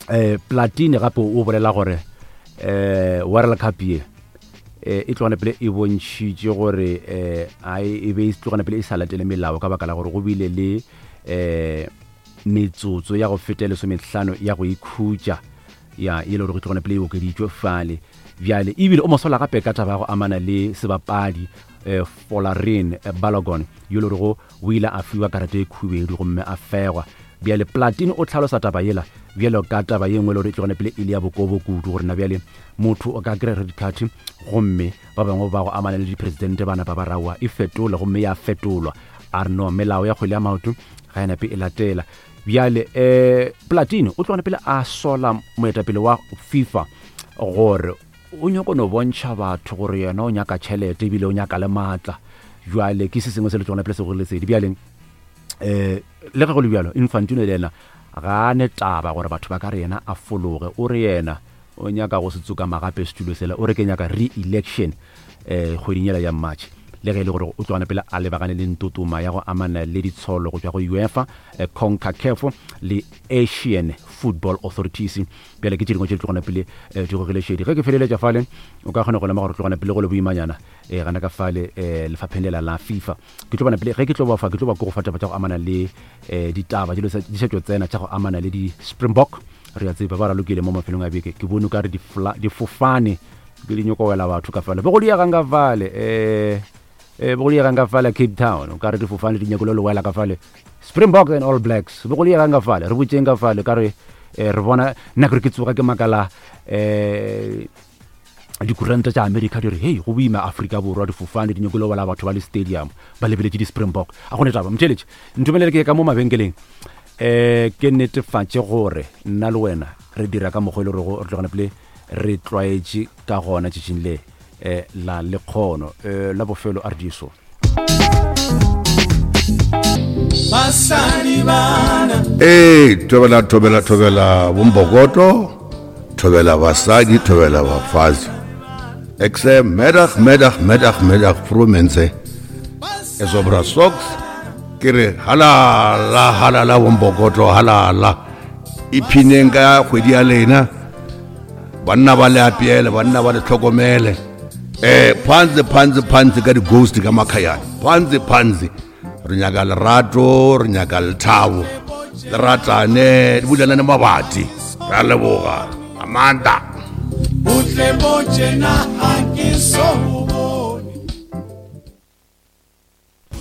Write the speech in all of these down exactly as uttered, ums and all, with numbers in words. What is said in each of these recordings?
um Platini gape o bolela gore um World Cup ye eh, e tlogane pele e bontšhitše gore um e be e tlogane pele e sa latele melao ka baka la gore go bile le um metsotso ya go feta lesomehlano ya go ikhutša ya e le gore go tlogane pele e okeditšwe fale. Bjale ebile o mosola gape ka taba ya go amana le sebapadi um Folarin Balogun yo le gorego o ile a fiwa karata e khubedu gomme a fegwa. Bjale Platini o tlhalosa taba yela bjalo ka taba ye nngwe le gore e tlogane pele e le ya bokobo kudu, gore na bjale motho o ka kry-a red card gomme ba bangwe ba go amana le dipresidente ba napa ba raowa e fetola gomme ya fetolwa. A re no, melao ya kgwele ya maoto ga e nape e latela. Bjale um Platini o tlogane pele a sola moetapele wa FIFA gore o nyako no bontšha batho gore yena o nyaka tšhelete ebile o nyaka le maatla. Jwale ke se sengwe se le tlogane pele se gore lesedi. Bjale um le ge go le bjalo, Infantino le yena ga a ne taba gore batho ba ka re yena a fologe, o re yena o nyaka go se tsokama gape setulo sela, o re ke nyaka re-election um kgweding yela ya March. Le ge e le gore o tlogane pele a lebagane le ntotoma ya go amana le ditsholo go tšwa go UEFA, CONCACAF le Asian Football Authorities. Bjale ke tše dingwe tše di tlogane pele di gogile šedi. Ge ke feleletša fale, o ka kgona go lemoga gore tlogane pele go le boimanyana um gana ka fale um lefapheng lela la FIFA. Ke tlo bona pele ge ke tlo ba fa, ke tlo ba ko go fa taba tša go amana le um ditaba di sa tšo tsena tša go amana le di-Springbok. Re a tseba ba ralokile mo mafelong a beke, ke bone o ka re difofane ke di nyoko wela batho ka fale, be go diegang ka fale um eh bo go diegang ka fale Cape Town, o ka re difofane di nyako le wela ka fale. Springbok and All Blacks be go diegang ka fale, re botšeng ka fale ka re re bona nna ke re ke tsoga ke makala um dikuranta tša America di re hei go boima Afrika Borwa difofane di nyako le wela batho ba le stadium ba lebeletše di-Springbok. A gone taba motšheletše ntumelele ke ye ka mo mabenkeleng um ke netefatše gore nna le wena re dira ka mokgwa e le gorego re tlogane pele re tlwaetše ka gona tšatšing le um la lekgono um la bofelo a re diso. Ee, thobela thobela thobela bombokoto, thobela basadi, thobela bafazi. Ek sê middag, middag, middag, middag, vroue Is op socks. Ke re halala, halala bombokoto, halala. Iphineng ka kgwedi ya lena. Banna ba le apeele, banna ba le tlhokomele. Eh, phansi phansi phansi ka di-ghost ka makhayane. Phansi phansi. Re nyaka lerato, re nyaka lethabo. Le ratane, di bulelane mabati. Re a leboga. Amanda. Botle bo tjena ha ke so bone.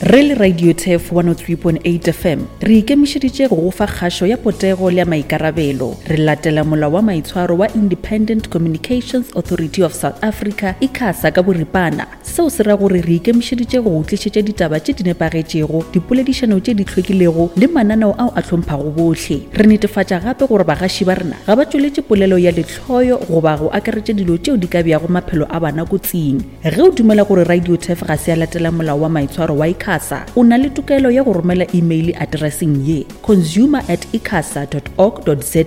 Re le Radio Turf one oh three point eight F M, re ikemišeditše go go fa kgašo ya potego le ya maikarabelo. Re latela molao wa maitshwaro wa Independent Communications Authority of South Africa, ICASA ka boripana. Seo se ra gore re ikemišeditše go go tlišetša ditaba tše di nepagetšego, dipoledišano tše di hlwekilego le mananeo ao a hlomphago bohle. Re netefatša gape gore bagaši ba rena ga ba tšweletše polelo ya lehloyo goba go akaretša dilo tšeo di ka beago maphelo a bana kotsing. Ge o dumela gore Radio Turf ga se ya latela molao wa maitshwaro wa ICASA, o na le tokelo ya go romela email addresseng ye consumer at icasa dot org dot za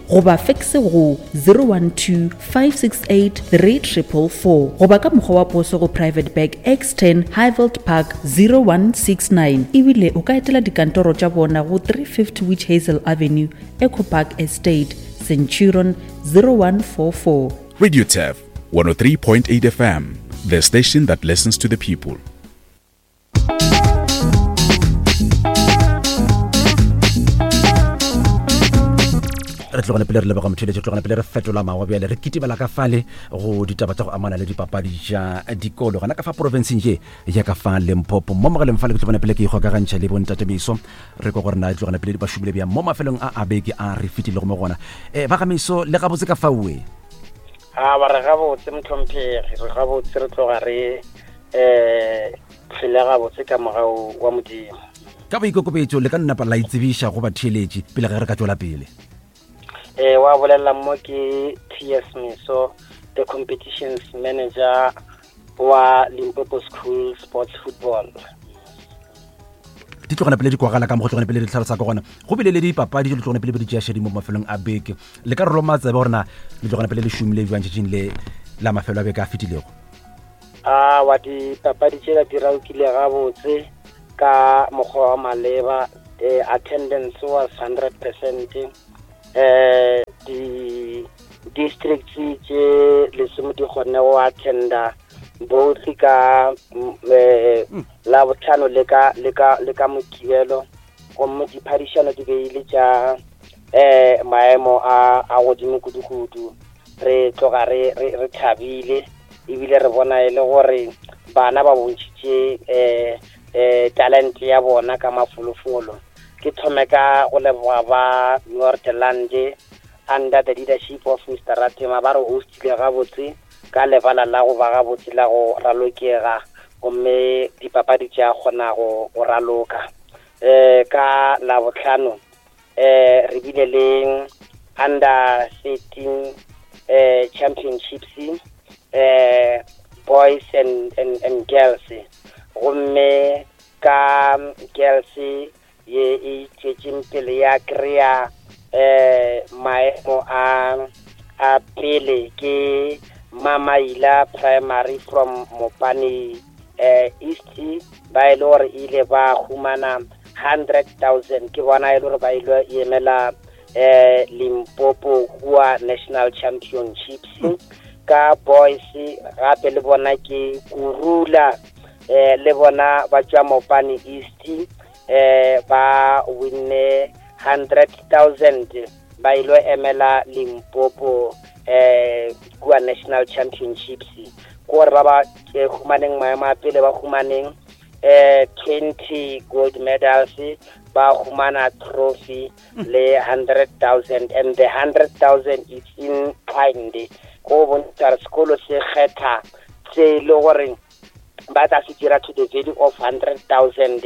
goba fax go zero one two five six eight three triple four goba ka mokgwa wa poso go Private Bag X ten Highveld Park zero one six nine. Ebile o ka etela dikantoro tša bona go three fifty Witch Hazel Avenue, Echo Park Estate, Centurion zero one four four. Radio Turf one oh three point eight F M, the station that listens to the people. Re tlogane pele re leboga motheletši, re tlogane pele re fetola mawa bjale re kitimela ka fale go ditaba tša go amana le dipapadi tša dikolo gona ka fa provinceng ye ya ka fa Limpopo. Mo mogaleng fale ke tlogane pele ke ikgokagantšha le bontate Meso, re kwa gore na tlogane pele ba šomile bjang mo mafelong a a beke a re fetilego mo gona. Um ba ga Meso le gabotse ka faoe? A ba re gabotse mohlomphegi, re gabotse, re tloga re um phele gabotse ka mogau wa Modimo. Ka boikokobetšo le ka nnapa la itsebiša go batheeletši pele ge re ka tšwela pele. Eh, wa bolela mo ke T S Meso, the competitions manager wa Limpopo School Sports Football. Di tlogana pele di kwagala ka mo go tlogana pele di tlhalosa ka gona. Go bile le dipapadi di tlogana pele di tšea šedi mo mafelong a beke. Le ka roma tsebe gore na le tlogana pele le šomile bjang tšatšing le la mafelo a beke a fetilego. A wa dipapadi tšela di ralokile gabotse ka mokgwa wa maleba. Eh, attendance was hundred percent. Eh, di Di-districts tše lesome di kgonne go attenda both ka eh, Labohlano le ka le ka le ka Mokibelo, gomme diphadišano di be ile tša eh maemo a a godimo kudu-kudu. Re tloga re re re thabile ebile re bona e le gore bana ba bontšhitše eh eh talent ya bona ka mafolofolo. Ke thome ka go leboga ba Northland under the leadership of Mister Ratema, ba re hostile gabotse ka lebala la go ba gabotse la go ralokega, gomme dipapadi tša kgona go go raloka. Eh ka Labohlano eh re bile le under thirteen eh championships, eh boys and and and girls, gomme ka girls ye e tšwetšeng pele ya kry-a eh maemo a a pele ke Mamaila Primary from Mopani eh East, ba e le gore ile ba humana hundred thousand, ke bona e le gore ba ile emela eh Limpopo kua National Championships. Ka boys gape le bona ke Kurula, eh le bona ba tšwa Mopani East, eh ba winne hundred thousand, ba ile emela Limpopo eh kua National Championships. Gore ba ba humaneng maemo a pele ba humaneng eh twenty gold medals, ba humana trophy le hundred thousand, and the hundred thousand is in kind. Go bontšha re sekolo se kgetha se le gore ba tla se dira to the value of hundred thousand,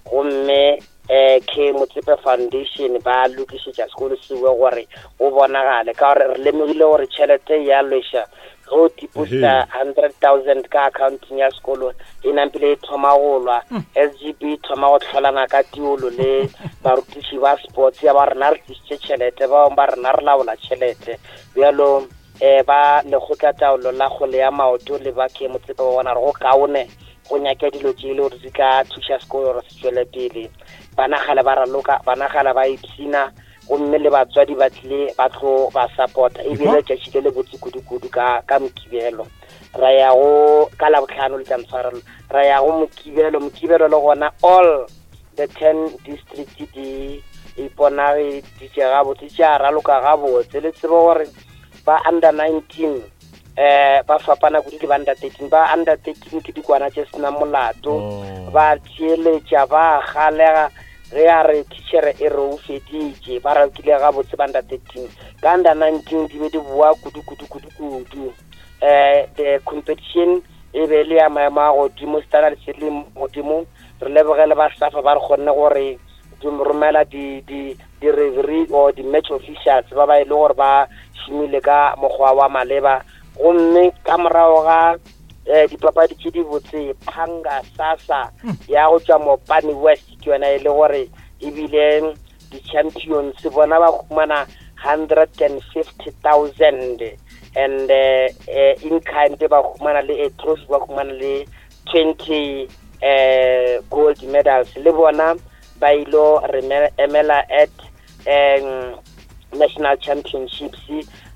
gomme eh K Motsepe Foundation ba lokišetša sekolo sewe gore o bonagale, ka gore re lemogile gore tšhelete ya lweša ge o deposita hundred thousand ka accounting ya sekolo e nampile e thoma go lwa. S G B e thoma go tlholana ka tiolo le barutiši ba sports ya ba rena re tlišitše tšhelete, ba bangwe ba rena re laola tšhelete. Bjalo eh ba lekgotla taolo la kgwele ya maoto le ba K Motsepe ba bona re go kaone go nyaka dilo tše e le gore di tla thuša sekolo gore se tšwele pele. Bana kgale ba raloka, bana kgale ba ipshina, gomme le batswadi ba tlile ba tlo ba support-a. Ebile letšatši le le botse kudu-kudu ka ka Mokibelo. Ra ya go ka Labohlano le tla ntshwarelo, ra ya go Mokibelo. Mokibelo le gona all the ten district di iponageditše gabotse, tša raloka gabotse. Le tsebe gore ba under nineteen eh ba fapana kudu le ba under thirteen. Ba under thirteen ke dikwana tše senang molato, ba tšeletša, ba galega ge a re teacher e re o feditše, ba ralokile gabotse ba under thirteen. Ka under nineteen di be di boa kudu kudu kudu kudu. Eh the competition e be le ya maemo a godimo, standard se le godimo. Re lebogele ba SAFA ba re kgonne gore di romela di di di referee or di match officials ba ba e le gore ba šomile ka mokgwa wa maleba. Gomme ka morago ga eh dipapadi tše di botse, Phanga Sasa ya go tšwa Mopani West ke yona e le gore ebile di-champions bona ba humana hundred and fifty thousand, and eh in kind ba humana le a trophy, ba humana le twenty eh gold medals. Le bona ba ilo re emela at um National Championships.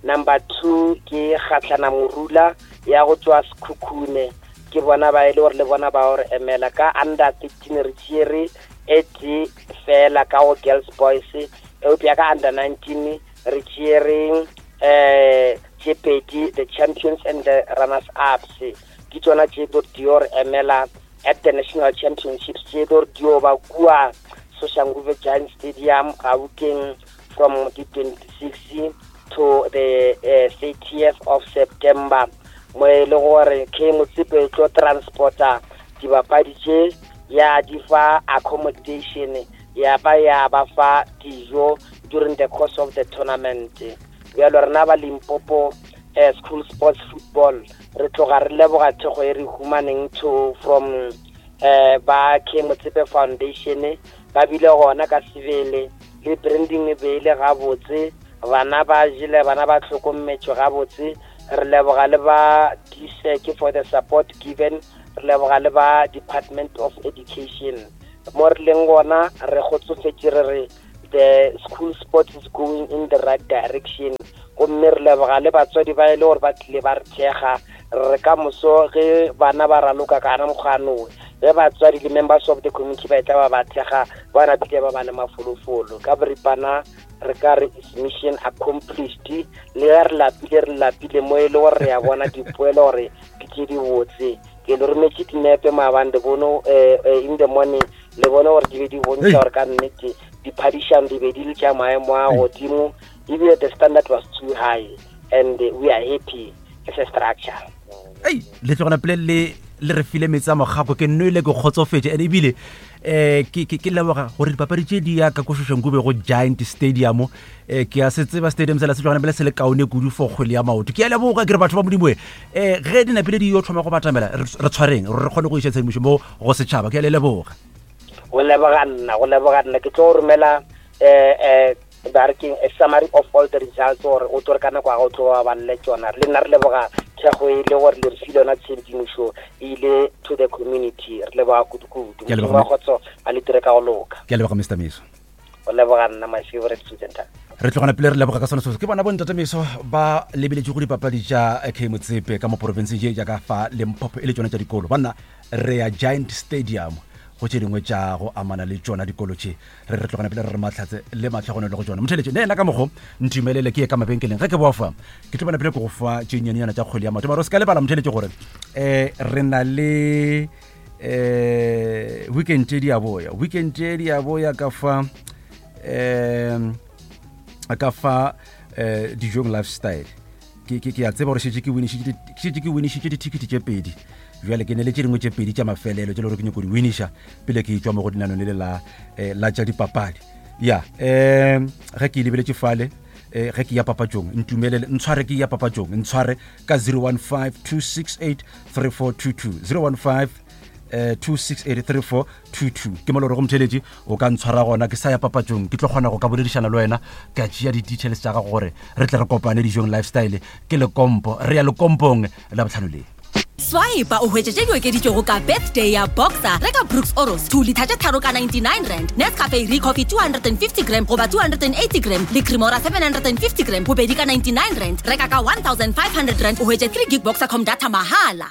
Number two ke Kgatlana Morula ya go tšwa Sekhukhune, ke bona ba e le gore le bona ba gore emela. Ka under thirteen re tšere e tee fela ka go girls boys, eupša ka under nineteen re tšere eh tše pedi, the champions and the runners ups. Ke tšona tše do di re emela at the National Championships tše do di ba kua Soshanguve Giant Stadium Gauteng from the twenty-sixth to the uh, thirtieth of September. Mo e le gore K Motsepe e tlo transporta dibapadi tše ya di fa accommodation, ya ba ya ba fa dijo during the course of the tournament. Bjalo rena ba Limpopo eh, School Sports Football re tloga re leboga thekgo e re humaneng to from eh ba K Motsepe Foundation, ba bile gona ka sebele le branding e be ile gabotse, bana ba jele, bana ba hlokometšwe gabotse. Re leboga le ba D S E C for the support given, re leboga le ba Department of Education. Mo re leng gona re kgotsofetše, re re the school sports is going in the right direction. Gomme Gomme re leboga le batswadi ba e le gore ba tlile ba re thekga. Re ka moso ge bana ba raloka ka gana mokgwanoe, ge batswadi le members of the community ba etla ba ba thekga, ba napile ba ba le mafolofolo. Ka boripana re ka re is mission accomplished. Le ge re lapile, re lapile mo e le gore re a bona dipoelo gore ke tše di botse. Ke le rometše dinepe maabane, le bone in the morning, le bone gore di be di bontšha gore ka nnete diphadišano di be di le tša maemo a godimo, ebile the standard was too high and we are happy as a structure. Ei, le tlogana pele le le re file metsi a mogako, ke nwele ke kgotsofetše. And ebile um ke ke leboga gore dipapadi tše di ya ka ko Soshanguve go Giant Stadium. Um ke a se tseba stadium sela se tlogana pele se le kaone kudu for kgwele ya maoto. Ke a leboga ke re batho ba Modimo e um ge di napile di yo thoma go batamela, re tshwareng gore re kgone go iša tshedimošo mo go setšhaba. Ke a le leboga. Go leboga nna, go leboga nna. Ke tlo romela um ba re keng a summary of all the results gore o tlo re ka nako ya go tlo ba balele tšona. Le nna re leboga thekgo e le gore le re file yona tshedimošo e ile to the community. Re leboga kudu-kudu. Modimo wa kgotso a le dire ka go loka. Ke a leboga Mister Meso. Go leboga nna, my favorite presenter. Re tlogana pele re leboga ka sona seo. Ke bona bontate Meso ba lebeletše go dipapadi tša K Motsepe ka mo provinceng ye jaaka fa Limpopo e le tšona tša dikolo. Banna re ya Giant Stadium go tše dingwe tša go amana le tšona dikolo tše. Re re tlogana pele re re mahlatse le matlhogonelo go tšona. Motheletše ne ena ka mokgo ntumelele ke ye ka mabenkeleng. Ge ke boa fa ke tlo bona pele ke go fa tše nnyane tša kgwele ya maoto. Mara o se ka lebala motheletše gore um re na le um weekend tše di a boya, weekend tše di a boya ka fa um ka fa um dijong lifestyle. Ke ke a tseba gore šetše ke winišitše ke winišitše dithikiti tše pedi. Bjale ke ne le tše dingwe tše pedi tša mafelelo tše le gore ke nyako di winiša pele ke etswa mo go dinanong le le la la tša dipapadi. Ya um ge ke lebeletše fale um ge ke ya papatšong, ntumelele ntshware ke ya papatšong, ntshware ka zero one five two six eight three four two two, zero one five two six eight three four two two. Ke mo le gore go motheletše o ka ntshwara gona ke sa ya papatšong, ke tlo kgona go ka boledišana le wena ka tšea di-details tša gago gore re tle re kopane dijong lifestyle. Ke Lekompo, re ya Lekompong la botlhano le. Swipe o hwetše tše di okeditšwego ka birthday ya Boxer. Reka Brooks Oros two litha tše tharo ka ninety-nine rand, Nescafe Recoffee two hundred and fifty gram goba two hundred and eighty gram le Cremora seven hundred and fifty gram bobedi ka ninety-nine rand. Reka ka one thousand five hundred rand o hwetše three gig Boxercom data mahala.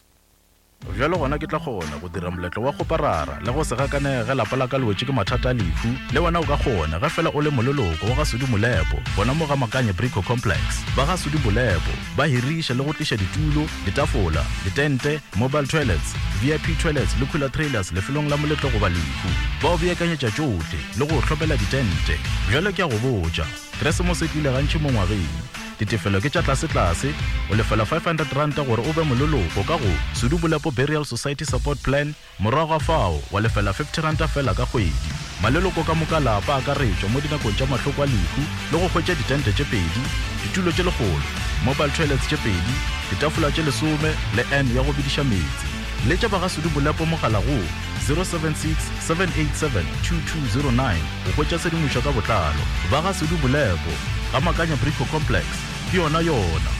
Bjalo gona ke tla kgona go dira moletlo wa kgoparara le go se gakanege lapa la ka le wetše ke mathata a lehu. Le wena o ka kgona ge fela o le moleloko wa ga Sudi Molepo gona mo ga Makanye Brico Complex. Ba ga Sudi Molepo ba hiriša le go tliša ditulo, ditafola, ditente, mobile toilets, V I P toilets le cooler trailers lefelong la moletlo goba lehu. Ba o beakanyetša tšohle le go hlomela ditente. Bjalo ke a go botša, Keresemose e tlile gantši mo ngwageng. Ditefelo ke tša tlase-tlase, o lefela five hundred rand gore o be moleloko ka go Sudi Molepo Burial Society Support Plan, morago ga fao wa lefela fifty rand fela ka kgwedi. Maleloko ka moka lapa akaretšwa mo dinakong tša mahloko a lehu le go hwetša ditente tše pedi, ditulo tše lekgolo, mobile toilets tše pedi, ditafola tše lesome le N ya go bediša meetse. Letša ba ga Sudi Molepo mogala go zero seven six seven eight seven two two zero nine go hwetša tshedimošo ka botlalo. Ba ga Sudi Molepo ga Makanya Brico Complex, ke yona yona.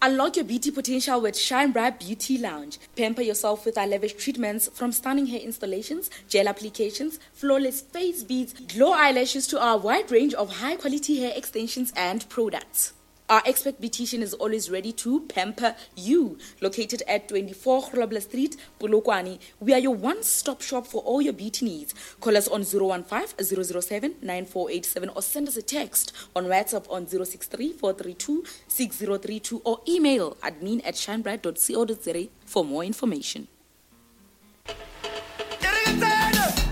Unlock your beauty potential with Shine Bright Beauty Lounge. Pamper yourself with our lavish treatments, from stunning hair installations, gel applications, flawless face beads, glow eyelashes to our wide range of high-quality hair extensions and products. Our expert beautician is always ready to pamper you. Located at twenty-four Grobler Street, Polokwane, we are your one-stop shop for all your beauty needs. Call us on zero one five, zero zero seven, nine four eight seven or send us a text on WhatsApp on zero six three, four three two, six zero three two or email admin at shinebright dot co dot za for more information.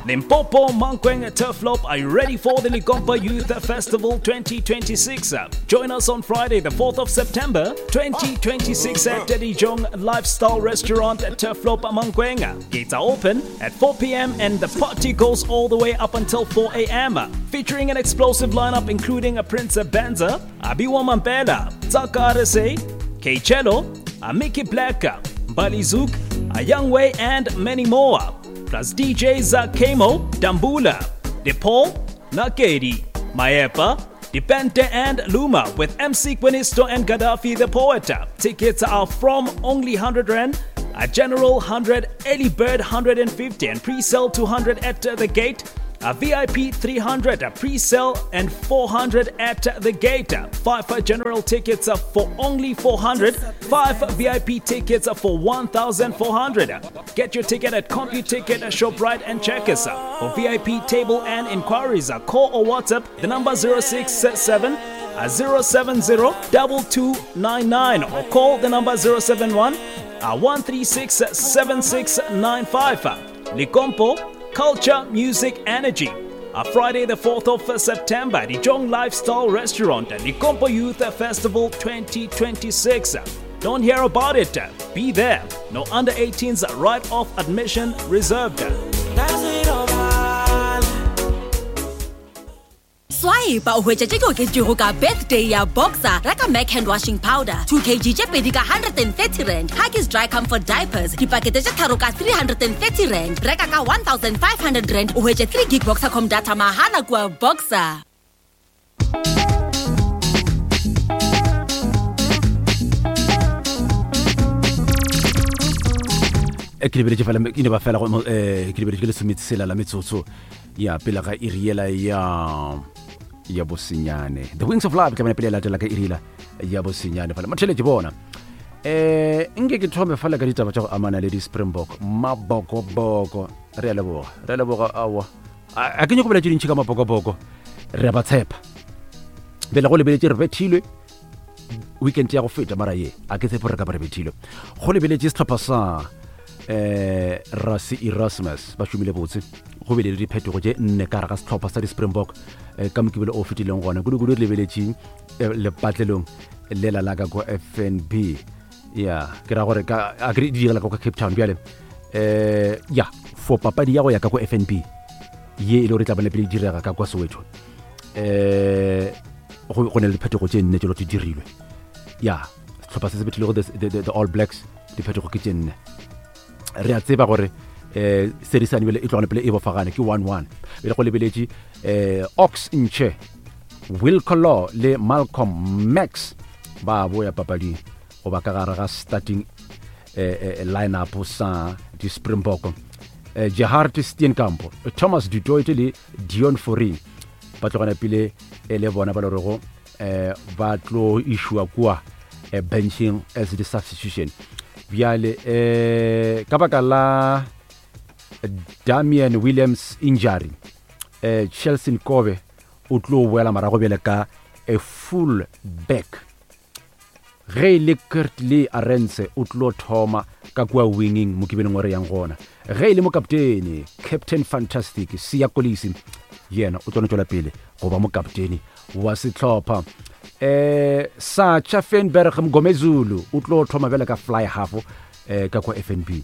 Limpopo, Mankweng, Turfloop, are you ready for the Likompa Youth Festival twenty twenty-six? Join us on Friday, the fourth of September, twenty twenty-six at Dijong Lifestyle Restaurant at Turfloop, Mankweng. Gates are open at four p.m. and the party goes all the way up until four a.m. Featuring an explosive lineup including a Prince Benza, Abiwa Mampela, Tsaka Arese, K-Cello, Amiki Black, Balizuk, Ayangwe, and many more. Plus D Js Kemo, Dambula, DePaul, Nakedi, Maepa, Dipente and Luma with M C Quinisto and Gaddafi the Poet. Tickets are from only one hundred rand, a general one hundred, early bird one hundred and fifty and pre-sale two hundred at the gate. A V I P three hundred pre-sale and four hundred at the gate. Five general tickets for only four hundred. Five V I P tickets for one thousand four hundred. Get your ticket at CompuTicket, ShopRite and Checkers. For V I P table and inquiries, call or WhatsApp the number zero six seven zero seven zero two two nine nine or call the number zero seven one one three six seven six nine five. Lekompo, Culture, Music, Energy. A Friday the fourth of September, the Jong Lifestyle Restaurant, Lekompo Youth Festival twenty twenty-six. Don't hear about it. Be there. No under eighteens, right off admission reserved. Swipe o hwetša tše di oketšego ka birthday ya Boxer. Reka Mac hand washing powder two kilograms tše pedi ka one hundred thirty rand. Huggies dry comfort diapers dipakete tše tharo ka three hundred thirty rand. Reka ka one thousand five hundred rand o hwetše three gig Boxercom data mahala kua Boxer. Ke lebeletše fela ke ne ba fela go eh ke lebeletše ke lesometsela la metsotso ya pele ga iri yela ya ya bosenyane. The Wings of Love ke bana pele latela ka iri yela ya bosenyane fela motheletše bona. Eh nke ke thome fela ka ditaba tša go amana le di Springbok mabokoboko. Re a leboga, re a leboga awa. A ke nyako bolela tše dintši ka mabokoboko, re a ba tshepa. Bele go lebeletše re bethilwe weekend ya go feta, mara ye a ke tshepe re ka ba re bethilwe. Go lebeletše sehlopha sa eh Rassie Erasmus ba šomile botse, go bile le diphetogo tše nne ka gare ga sehlopha sa di-Springbok eh, ka mokibelo o fetileng gona. Kudu-kudu re lebeletše eh, lepatlelong lela la ka ko F N B. Ya ke ra gore ka a ke di direla ka kwa Cape Town bjale eh ya for papadi ya go ya ka ko F N B ye e le gore tla bana pele di direga ka kwa Soweto eh go go ne le diphetogo tše nne tše di dirilwe. Ya sehlopha se se bethilego the, the, the, the All Blacks diphetogo ke tše nne. Re a tseba gore eh serisane bele e tlogane pele e bofagane ke one one. Bele go lebeletše eh Ox Nche, Will Kolo le Malcolm Max ba boya papading goba ka gare ga starting eh, eh, line-up sa di Springbok. Eh, Gerhard Steenkamp, Thomas du Toit le Dion Fourie ba tlogana pele e le bona ba le rego eh ba tlo išwa kua eh, benching as the substitution. Bjale eh ka baka la Damian Williams injury eh Chelsea Kobe o tlo boela morago bjale ka a full back. Ge e le Kurtley Arendse o tlo thoma ka kua winging mokibeleng wa re yang gona. Ge e le mokaptene Captain Fantastic Siya Kolisi yena o tlo no tšwela pele go ba mokaptene wa sehlopha. Eh Sacha Feinberg Mgomezulu o tlo thoma bjale ka fly half eh ka kwa F N B.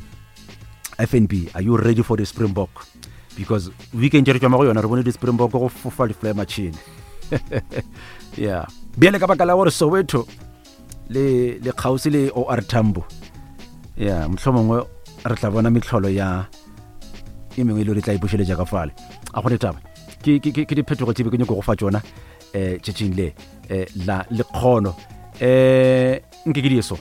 F N B, are you ready for the Springbok? Because weekend re tšwa mo go yona re bone di Springbok go fofa di fly machine. Yeah. Bjale ka baka la gore Soweto le le kgauswi le O R Tambo. Yeah, mohlomongwe re tla bona mehlolo ya e mengwe e le re tla ipušeletša ka fale. A go taba. Ke ke ke diphetogo tše be ke nyako go fa tšona eh tšatšing le eh la lekgono. Eh nke ke di eso.